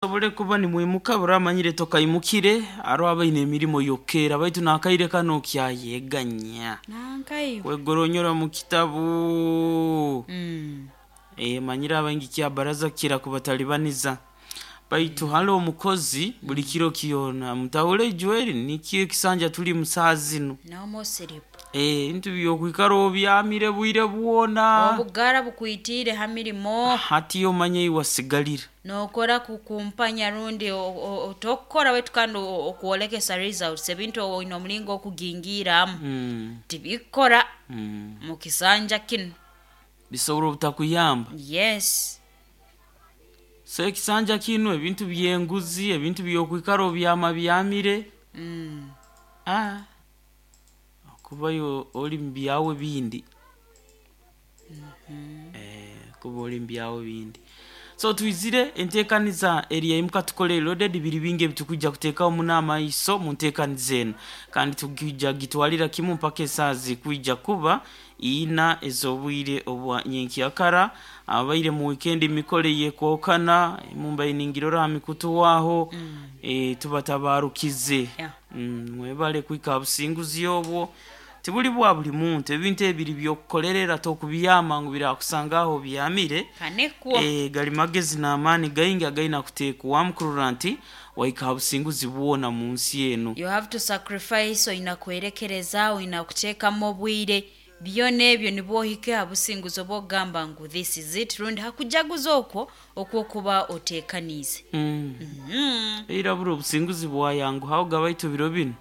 Musobole kuba nimwimuka buramanyire tokaimukire aro abaine emirimo yokeera baitu nakaire kano kyayeganya Nankaiwe. kwegoronyora mu kitabu. Mm. Manyire abaingi kya baraza kira kubatalibaniza baitu hali omukozi buli kiro kyona mutahule ijweri nikyo ekisanja tuli musaha zinu. No more sleep. Ebintu byokwikara obyamire bwire bwona. Obugara bukwitiire ha mirimo. Hati omanye iwasigalira. Nokora kukumpanya rundi tokukora wetu kandi okwolekesa results ebintu oine omulingo okugingiramu. Tibikora mu kisanja kinu. Bisobora obutakuyamba. Yes. So ekisanja kinu ebintu byenguzi ebintu byokwikara obyama byamire. Okubayo oli mu byawe bindi. Kuba oli mu byawe bindi. So twizire enteekaniza eri yaimuka tukole loaded biri bingi ebitukwijja kuteekaho muno amaiso mu nteekaniza enu kandi tukwija gitwalira kimu mpaka esaaha zikwija kuba ina ez'obwire obwa nyenkyakara. Abaire mu weekend mikole yekwokana mumbaire ningirora ha mikutu waaho. Tubatabarukize. Yeah. Mwebale kuhika ha businguzi obwo tibuli bwa buli muntu ebintu ebiri byokukolerera tokubyama ngu birakusanga aho obyamire. Kanekwo. Gali magezi n'amaani gaingi againa kuteekwamu kurora nti wahika ha businguzi bwona mu nsi enu. You have to sacrifice oina kwerekereza oina kuteekamu obwire byona ebyo nibwo ohike ha businguzi obw'okugamba ngu this is it rundi hakujaguza okwo okwokuba oteekaniize. Era buri obusinguzi bwayanguhaho baitu biro binu.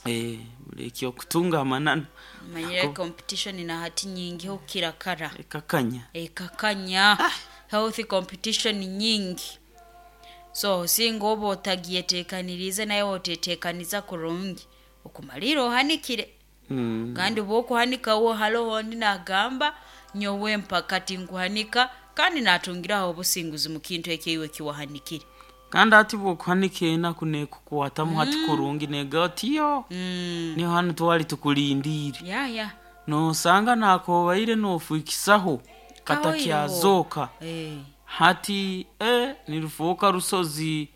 Buri ekyokutunga amananu. Manyire competition na hati nyingi okukira kara. Ekakanya. Ekakanya. Healthy competition nyingi. So singa oba otagyeteekaniriize naye oteteekaniza kurungi okumalira ohanikire. Kandi bw'okuhanika wo haroho ondi naagamba nyowe mpaka tinkuhanika kandi naatungiraho obusinguzi mu kintu eki iwe ekiwahanikire. Kandi hati bw'okuhanika enaku neekukwatamu hati kurungi neega oti yo niho hanu twali tukulindiire. Ya ya. Noosanga naakobaire noofiikisaho katakyazooka. Hati nirufooka rusozi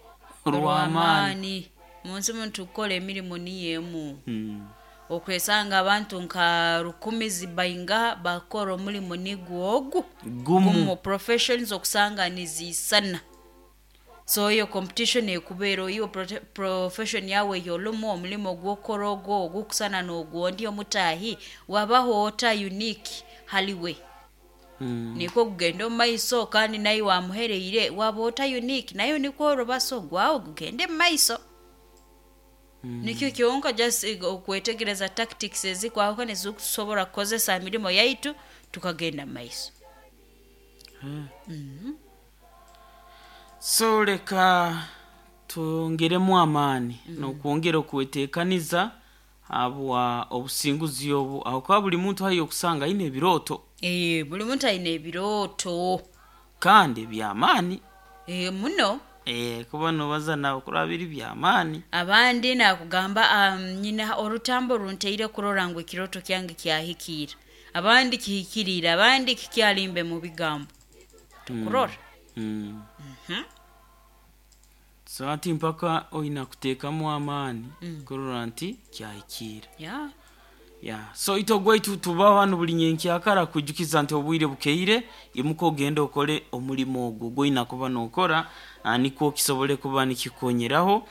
rw'amaani. Rw'amaani. Munsi munu tukukora emirimo niyo emu. Okwesanga abantu nka rukumi zibaingaha bakukora omulimo nigwo ogu Gumu. Gumu professions okusanga niziisana. So eyo competition ekubeera iwe profession yawe ey'olumu omulimo gw'okukora ogwo ogukusana n'ogwondi omutaahi wabaho ota unique haliwe. Nikwo kugenda omu maiso kandi naiwe wamuhereire waba ota unique nawe nikwo orubasa ogwawe gugende mu maiso. Nikyo kyonka just okwetegereza tactics ezikwahukana ezikutusobora kukozesa ha mirimo yaitu tukagenda mu maiso. So leka twongeremu amaani n'okwongera okweteekaniza habwa obusinguzi obu ahakuba buli muntu haihi okusanga aine ebirooto. Buli muntu aine ebirooto. Kandi by'amaani. Muno. Kuba noobaza nawe kuraba biri by'amaani. Abandi naakugamba nyina orutambu oruntaire kurora ngu ekirooto kyange kyahikiira. Abandi kihikiriire abandi kikyalimbe mu bigambo. Tukurora. So hati mpaka oina kuteekamu amaani kurora nti kyahikiira. Yeah. Yeah. So itwe ogwaitu tubaho hanu buli nyenkyakara kwijukiza nti obwire bukeire imuka ogende okole omulimo ogwo ogwoina kuba nookora nikwo kisobole kuba nikikukonyeraho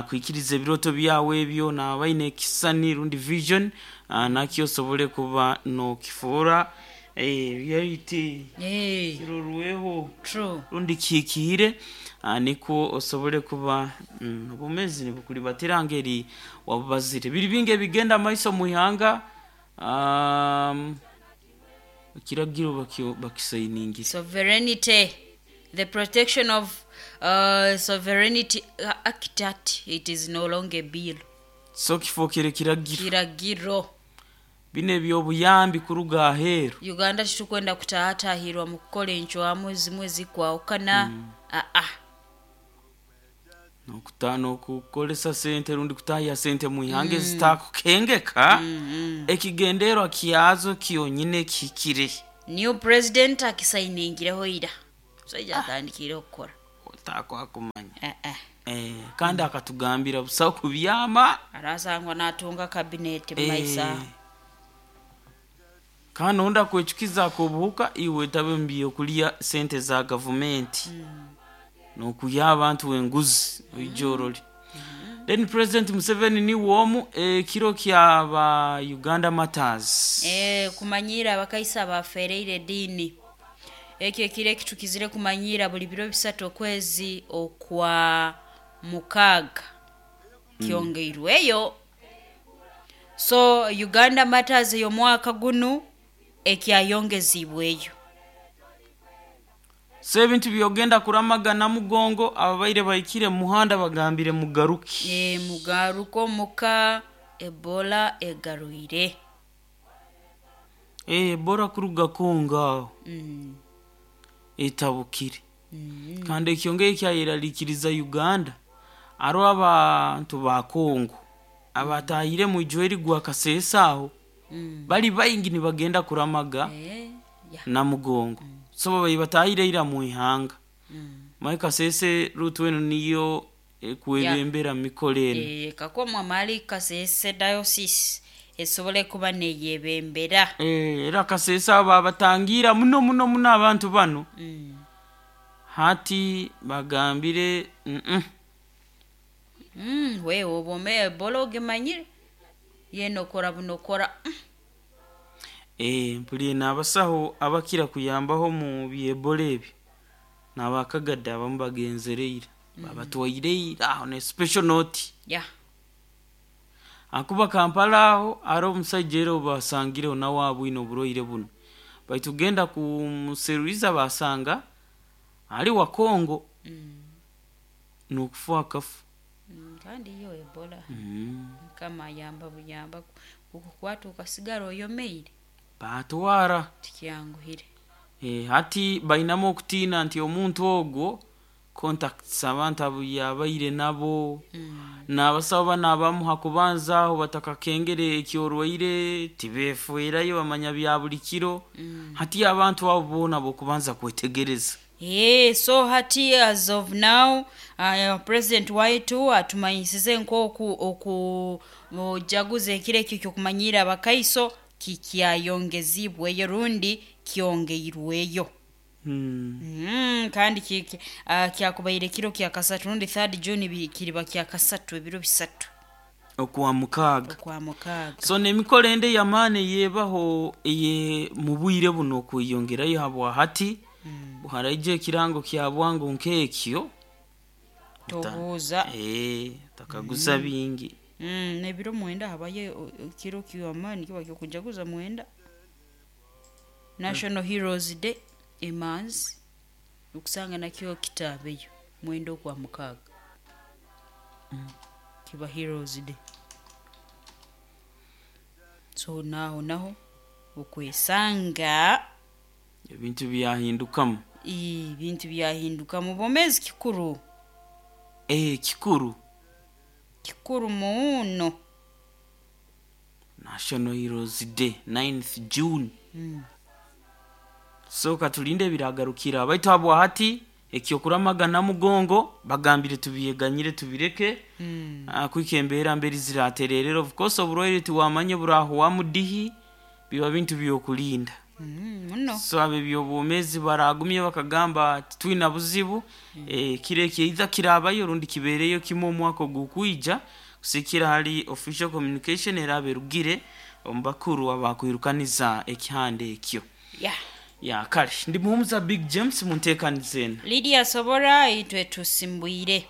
kwikiriza ebirooto byawe ebyo naabaine ekisisani rundi vision nakyo osobole kuba nookifuura reality kirorweho True. rundi kihikiire nikwo osobole kuba obwomeezi nibukulibatira ngeri wabubazire. Biri bingi ebigenda maiso mu ihanga ekiragiro bakisainingire. Sovereignty. The protection of Sovereignty Act Act it is no longer a bill. So kifookere kiragiro. Kiragiro. Bino eby'obuyambi kuruga aheeru. Uganda titukwenda kutahatahirwa mu kukora encwamu ezimwe ezikwahukana. N'okukozesa sente rundi kutahya sente mu ihanga ezitakukengeka ekigenderwa kyazo kyonyine kihikire. New president akisainingireho ira. Musaija atandikiire okukora. Takwakumanya. Eh, eh. Kandi akatugambira busaho kubyama. Arasangwa natunga kabineti mumaisa. Kandi ondi akwecukiza akobuhuka iwe tabe mu byokulya sente za gavumenti nokuya abantu enguzi oijorole. Then President Museveni niwe omu ekiro kyaba Uganda Matters. Kumanyira abakaisa bafereire ediini, ekyo ekiro ekitukizire kumanyira buli biro 3 okwezi okwa 6 kyongeirweyo. So Uganda Matters ey'omwaka gunu ekyayongezibweyo. So ebintu byogenda kuramagana mugongo, ababaire bahikire mu muhanda bagambire mugaruke. Mugaruko muka Ebola egarwire. Bora kuruga Kongo aho etabukire. Kandi ekyongeye kyayerarikiriza Uganda, aro abantu ba Kongo abatahire mu ijweri gwa Kasese aho bali baingi nibagenda kuramaga Ya. na mugongo. So babaire batahire ira mu ihanga. Mai Kasese rutu enu niyo ekwebembera mikoro enu. Kakomwa mali Kasese diocese esobole kuba neyebembera. Era Kasese abo babatangira muno muno muno abantu bano. Hati bagambire mm. Wewe obome Ebola ogemanyire yena okora buno okora. Mpuliire n'abasaho abakira kuyambaho mu byebola ebyo n'abakagadde abamu bagenzere ira babatwaire ira aho ne special note. Akuba Kampala aho ari omusaija era obasangireho nawe abwine oburwaire buno, baitu genda kumuseruliza basanga ali wa Kongo. N'okufa akafa. Kandi yo Ebola mukama ayamba buyamba kukukwata okasigara oyomeire. Batwara. Tikyanguhire. Hati bainamu okutiina nti omuntu ogwo contacts abantu abu yabaire nabo n'abasawo bano abamu hakubanza aho batakakengere ekyorwaire tibefuirayo bamanya bya buli kiro. Hati abantu abo boona bokubanza kwetegereza. So hati as of now President waitu atumanyisize nk'oku okujaguza ekiro ekyo kyokumanyira abakaiso kikyayongezibweyo rundi kyongeirweyo. Kandi kyakubaire kiro kya kasatu rundi 3 June kiriba kya kasatu ebiro 3 okwa 6. Okwa 6. So n'emikoro ende yamaani eyebaho eye mu bwire buno okweyongerayo habwa hati buharaija ekirango kya bwangu nk'ekyo. Tobuuza. Takaguza bingi. N'ebiro 9 habayo ekiro kyamaani kiba kyokujaguza 9. National Heroes Day emanzi okusanga nakyo kitaabeyo 9 okwa 6. Kiba Heroes Day. So naho naho okwesanga ebintu byahindukamu. Ebintu byahindukamu bomezi kikuru. Kikuru. Kikuru muno. National Heroes Day 9th June. So katulinde biragarukira baitu habwa hati ekyokuramagana mugongo bagambire tubyeganyire tubireke. Kwika embeera mberi ziratererera, of course oburwaire tiwamanye burahuwa mudihi, biba bintu byokulinda. Muno. So abo ebyobwomezi baragumye bakagamba titwina buzibu. Kiro ekyo either kirabayo rundi kibeereyo kimwe omwaka ogukwija kusikira hali official communication eraba erugire omu bakuru abakwirukaniza ekihanda ekyo. Ya kale ndi muhumuza Big James munteekaniza eno. Lydia Sobora itwe tusimbwire.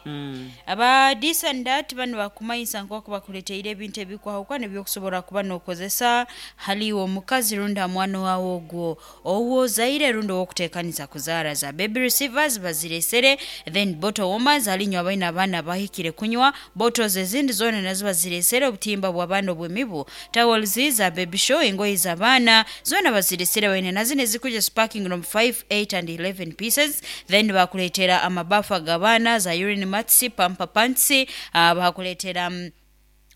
Aba this and that bano bakumanyisa nk'oku bakuleteire ebintu ebikwahukana ebyokusobola kuba n'okozesa haliwo omukazi rundi omwana wawe ogwo owozaire rundi owokuteekaniza kuzaara za baby receivers baziresere, then bottle warmers halinywa abaina abaana bahikire kunywa bottles ezindi zoona nazo baziresere, obutimba bw'abaana obw'emibu, towels za baby show, engoye z'abaana zoona baziresere baine nazo nezikuja sparking from 5, 8 and 11 pieces. Then bakuleetera amabafu ag'abaana za urine mats, pampa pants, bakuleetera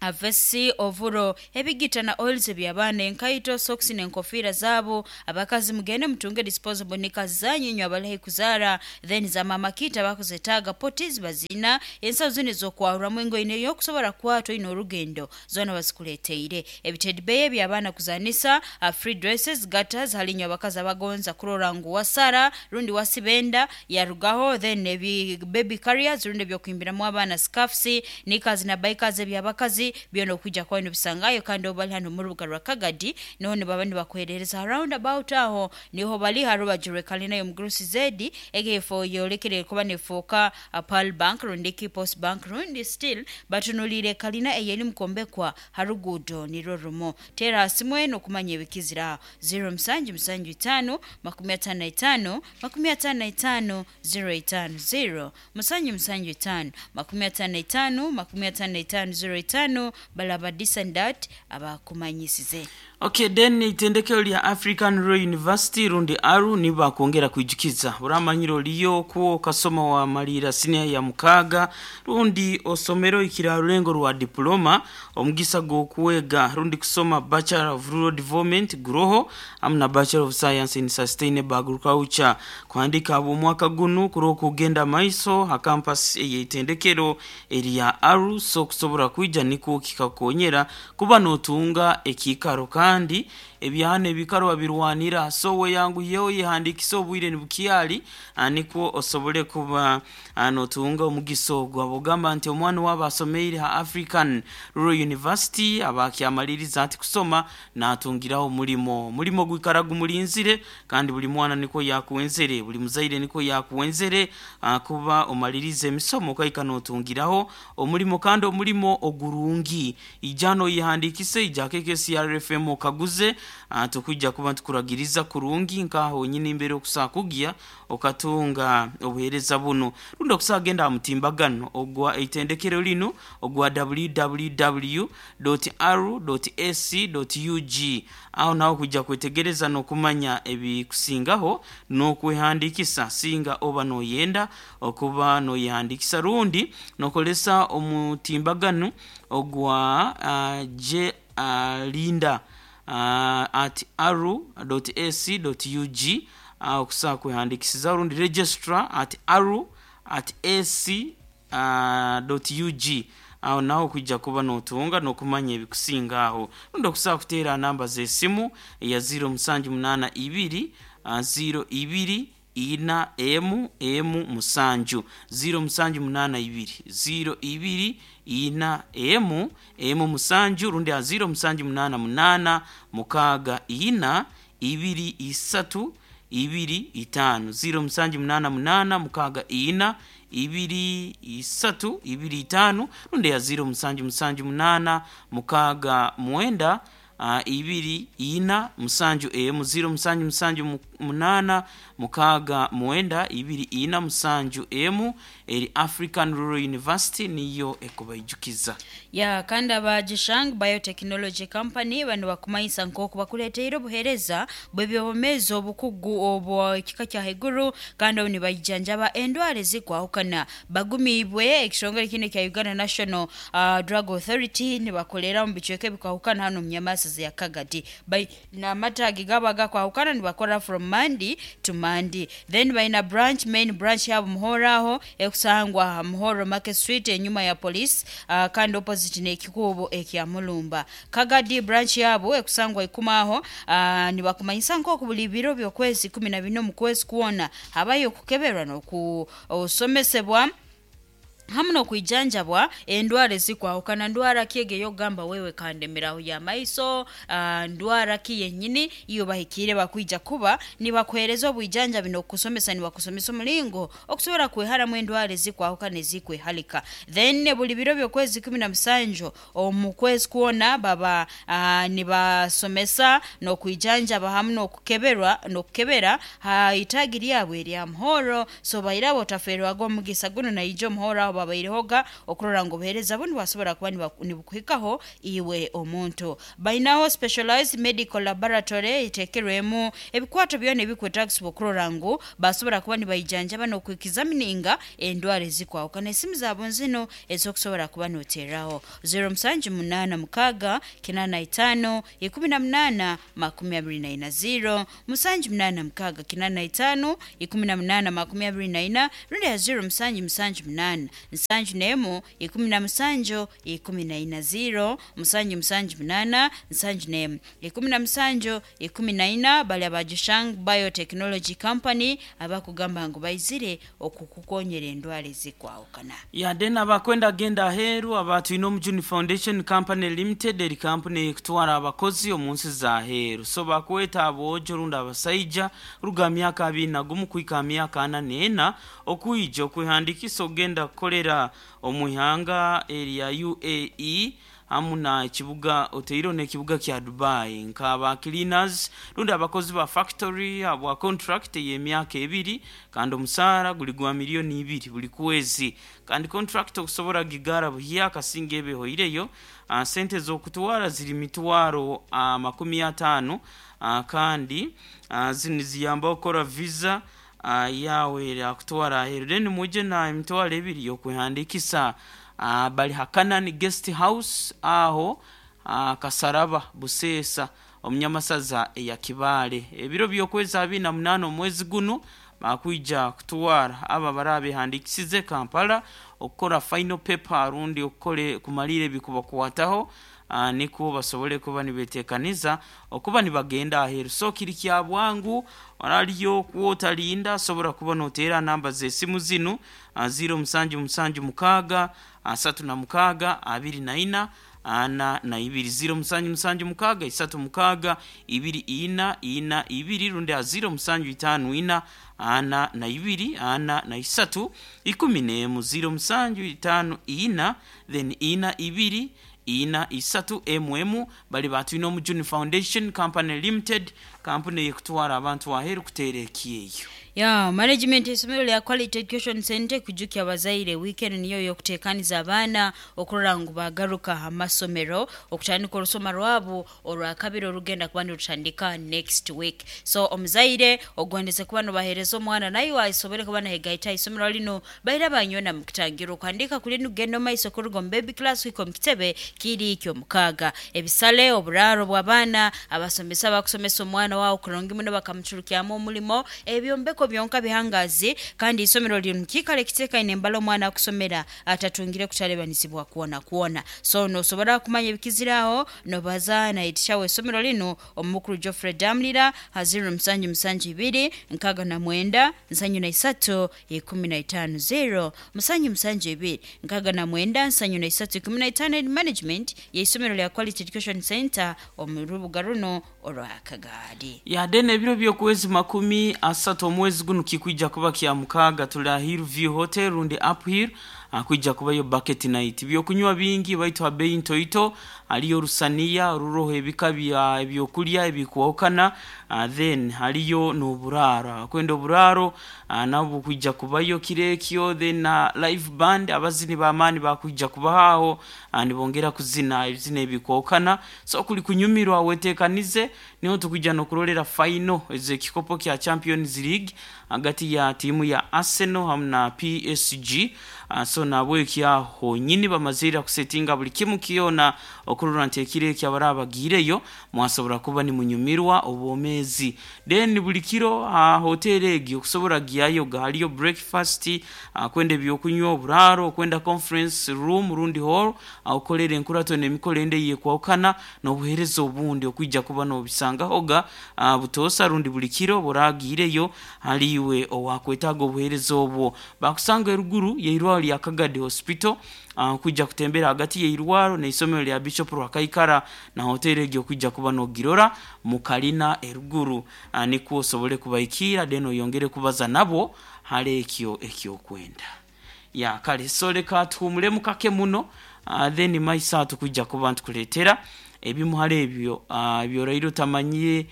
Avesi ovuro ebigita na oils eby'abaana, enkaito, socks n'enkofiira zaabo. Abakazi mugende mutunge disposable nika zanyu inywe abali kuzaara. Then za mama kita bakuzetaaga potties bazina, ensawo zino ez'okwahuramu engoye n'eyokusobora kukwatwa oine orugendo zoona bazikuleeteire. Ebitedi beya eby'abaana kuzanisa, free dresses, gatters hali inywe abakazi abagonza kurora ngu wasara rundi wasibenda yarugaho. Then ebi baby carriers rundi ebyokuhimbiramu abaana, scarfs, knickers na bikers eby'abakazi byona okwijja kuba nibisangayo. Kandi obu bali hano mu rubuga rwa Kagadi, niho nibaba nibakuherereza round about, aho niho bali ha rubaju rw'ekalina y'omugurusi zedi egefo yolekere kuba nefuuka Pearl Bank rundi ki Post Bank, rundi still batunuliire kalina eyeri mukombekwa ha ruguudo nirwo rumu. Teera ha simu eno okumanya ebikizira: 0775 55 55 05, 0775 55 55 05. Balaba disandat abakumanyisize. Okay, then itendekero lya African Rural University rundi ARU nibakwongera kwijukiza buramanyiro oliyo kuwo kasoma wa malira senior ya 6 rundi osomero ikirarulengo rwa diploma, omugisa gw'okwega rundi kusoma Bachelor of Rural Development guroho amna Bachelor of Science in Sustainable Agriculture. Kuhandika abo mwaka gunu kuro kugenda maiso ha campus ey'itendekero erya ARU. So kusobora kwija niko kikakonyera kuba notunga ekikaro, kandi ebyana ebikaro babirwanira. So we yangu yewe yihandikisa obwire nibukyali, nikwo osobole kuba notunga omugiso ogwo. Abogamba nti omwana waba asomeire ha African Rural University abakyamaliriza ati kusoma natungiraho omulimo, omulimo gwikara gumulinzire. Kandi buli mwana niko yakuwenzere, buli muzaire niko yakuwenzere, kuba omalirize emisomo okaika notungiraho omulimo, kandi omulimo ogurungi. Ijano yihandikise, ijakeke CRFM okaguze, tukujja kuba tukuragiriza kurungi nkaho nyine imbere okusakugya okatunga obuhereza buno. Rundi okusagenda aha mutimbagano ogwa itendekero lino ogwa www.r.ac.ug, aho naho kujja kwetegereza n'okumanya ebikusingaho n'okwehandikisa singa oba noyenda okuba noyehandikisa, rundi nokolesa omutimbagano ogwa j linda at aru.ac.ug okusobola kwehandikisiza, rundi registrar at aru at ac ug, aho naho kwijja kuba notunga n'okumanya ebikusinga aho. Rundi okusobola kuteera namba z'esimu eya 0782 02 4 m m 7, 0782 02 4 m m 7, rundi a 0788 6 4 2 3 2 5, 0788 6 4 2 3 2 5, rundi ya 0778 6 9 2 4 7 emu, 0778 6 9 2 4 7 emu. Eri African Rural University niyo ekubaijukiza. Ya kandi aba Jishang Biotechnology Company bano bakumanyisa nk'oku bakuleteire obuhereza bw'ebyobomezi obukugu obwa ekika kya haiguru, kandi obu nibaijanjaba endwara ezikwahukana bagumiibwe ekitongole kino kya Uganda National Drug Authority. Nibakolera mu bicweka ebikwahukana hano mu Nyamasizi ya Kagadi, baina amatagi gabo agakwahukana, nibakora from Monday to Monday. Then baina branch, main branch yabo Muhoro, aho ekusangwa Muhoro Market Street enyuma ya police, kandi opposite n'ekikubo ekya Mulumba. Kagadi branch yabo ekusangwa ikumaho. Nibakumanyisa nk'oku buli biro by'okwezi 14 mu kwezi kwona habayo okukeberwa n'okusomesebwa hamu n'okwijanjabwa endwara ezikwahukana. Ndwara ki ege ey'okugamba wewe kandemeraho y'amaiso, ndwara ki yenyini iyo bahikire bakwija kuba nibakuhereza obwijanjabi n'okusomesa, nibakusomesa omulingo okusobora kweharamu endwara ezikwahukana ezikwehalika. Then buli biro by'okwezi 17 omu kwezi kwona baba nibasomesa n'okwijanjaba hamu n'okukeberwa n'okukebera ha itagi lyabwe erya Muhoro. So bairabo otaferwaga omugisa guno, naija omuhoro aho babaire. Batekiirehoga okurora ngu obuheereza bunu bwasobora kuba nibukuhikaho iwe omuntu. Bainaho specialized medical laboratory eteekerwemu ebikwato byona ebikwetagisibwa okurora ngu basobora kuba nibaijanjaba n'okwikizamininga endwara ezikwahukana. Esimu zaabo nzino ez'okusobora kuba noteeraho: 0786 85 18 24, 0786 85 18 24, rundi ya 0778 71 17 14, 0778 71 17 14. Bali abajishang Biotechnology Company abakugamba ngu baizire okukukonyera endwara ezikwahukana. Yade n'abakwenda genda aheeru, abatwine Omujuni Foundation Company Limited, eri kampuni ekutwara abakozi omu nsi za aheeru. So bakweta aboojo rundi abasaija ruga myaka 21 kuhika myaka 44 okwija okwehandikisa okugenda kukolera omu ihanga erya UAE hamu na ekibuga oteiro n'ekibuga kya Dubai, nk'aba cleaners rundi abakozi ba factory abwa contract ey'emyaka 2, kandi omusaara guli gwa 2 miliyoni buli kwezi. Kandi contract okusobora gigara buhya kasinga ebe ehoireyo, sente z'okutwara ziri 500,000, kandi zinu niziyamba okukora visa yawe erakutwara aheeru. Then mwije na 2000 y'okwehandikisa. Bali Hakanani Guest House aho Kasaraba, Buseesa, omunyamasaza eya Kibaale. Ebiro by'okwezi 28 omwezi gunu bakwija kutwara abo abarabehandikisize Kampala okukora final paper rundi okukore kumalira ebikubakwataho, nikwo basobole kuba nibetekaniza okuba nibagenda aheeru. So kiri kya bwangu, oraliyo kwotalinda, asobora kuba noteera namba z'esimu zinu: 0776 36 24 42, 0776 36 24 42, rundi a 0754 42 43 11, 0754 then 42 43 bali batwine Omujuni Foundation Company Limited, kampuni eyekutwara abantu aheeru kuteera ekyeyo. Ya management esomero lya Quality Education Center kujukya abazaire weekend niyo yokutekaniza abaana okurora ngu bagaruka amasomero okutandika orusoma rwabo orwakabiri orugenda kuba nirutandika next week. So omuzaire ogondeze kuba nobahereza omwana naye asobole kuba nahegaita isomero lino, baira banyona mukutangira okuhandika kuli nugenda omaiso kuruga omu baby class kuhika omu kitebe kiri kyomukaaga. Ebisale, oburaaro bw'abaana, abasomesa abakusomesa omwana wawe kurungi muno bakamucurukyamu omulimo, ebyombeko byonka bihangazi, kandi isomero liri mukiikaro ekiteekaine embala omwana akusomera atatungire kutalebanizibwa kwona kwona. So nosobora kumanya ebikiziraho nobaza nayitishaho esomero linu omukuru Geoffrey Damlira ha 0772 69 73 15, 0772 69 73 15. Management y'isomero lya Quality Education Center omu rubuga runo orwa Kagaadi. Yade n'ebiro by'okwezi 30 omwezi guno kikwija kuba kya mukaaga, tuli aha Hillview Hotel rundi Uphill, kwija kubayo bucket night, byokunywa bingi baitu ha bei ntoito. Haliyo orusaniya oruroho ebika bya ebyokulya ebikwahukana, then haliyo n'oburaaro, abakwenda oburaaro nabwo bukwija kubayo kiro ekyo. Then na live band, abazini b'amaani bakwija kubaho aho, nibongera kuzina ebizina ebikwahukana. So kuli kunyumirwa, wetekanize, niho tukwija n'okurolera final ez'ekikopo kya Champions League hagati ya tiimu ya Arsenal hamu na PSG. So nabweki aho honyini bamazire kusetinga buli kimu kyona okurora nti ekiro eki abaraba bagiireyo mwasobora kuba nimunyumirwa obwomeezi. Then buli kiro ha hoteri egi okusobora giyayoga haliyo breakfast, kwenda ebyokunywa, oburaaro, okwenda conference room rundi hall ahukorera enkurato n'emikoro endi eyekwahukana, n'obuheereza obundi okwija kuba nobisangahoga butoosa rundi buli kiro buragiireyo. Haliiwe owakwetaaga obuheereza obwo, bakusanga eruguru y'eirwaro lya Kagadi Hospital, kwija kutembera hagati y'eirwaro n'isomero lya Bishop Rwakaikara, na hoteri egi okwija kuba nogirora mukalina eruguru, nikwo osobole kubahikiira then oyongere kubaza nabo hali ekyo ekyokwenda. Ya kale, so leka tuhumulemu kake muno, then maiso tukwija kuba ntukuleetera. Ebimu hali ebyo ebyoraire otamanyire.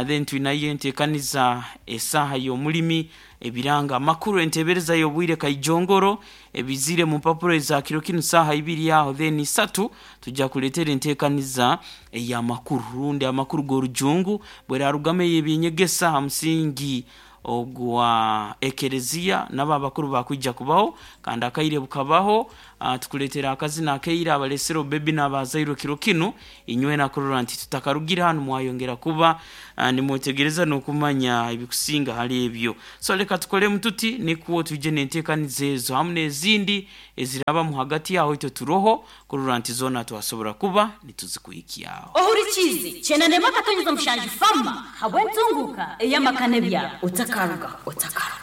Then twinayo enteekaniza esaaha y'omulimi, ebiranga, amakuru, enteebereza y'obwire kaijongoro ebizire mu mpapuro eza kiro kinu saaha 2 aho. Then 3 tujja kuleetera enteekaniza ey'amakuru rundi amakuru g'orujungu bwerarugamu ey'ebyenyegesa ha musingi ogwa ekereziya, nabo abakuru bakwija kubaho kandi akaire bukabaho. Tukuleetera akazina akaire abalesere obebi n'abazairwe kiro kinu inywena kurora nti tutakarugire hanu mwayongera kuba nimwetegereza n'okumanya ebikusinga hali ebyo. So leka tukolemu tuti nikwo twije n'enteekaniza ezo hamu n'ezindi ezirabamu hagati aho, itwe turoho kurora nti zoona twasobora kuba nituzikuhikyaho. Ohurikiize 97.7 fama habw'entunguka ey'amaka n'ebyaro. Otakaruga, otakaruga.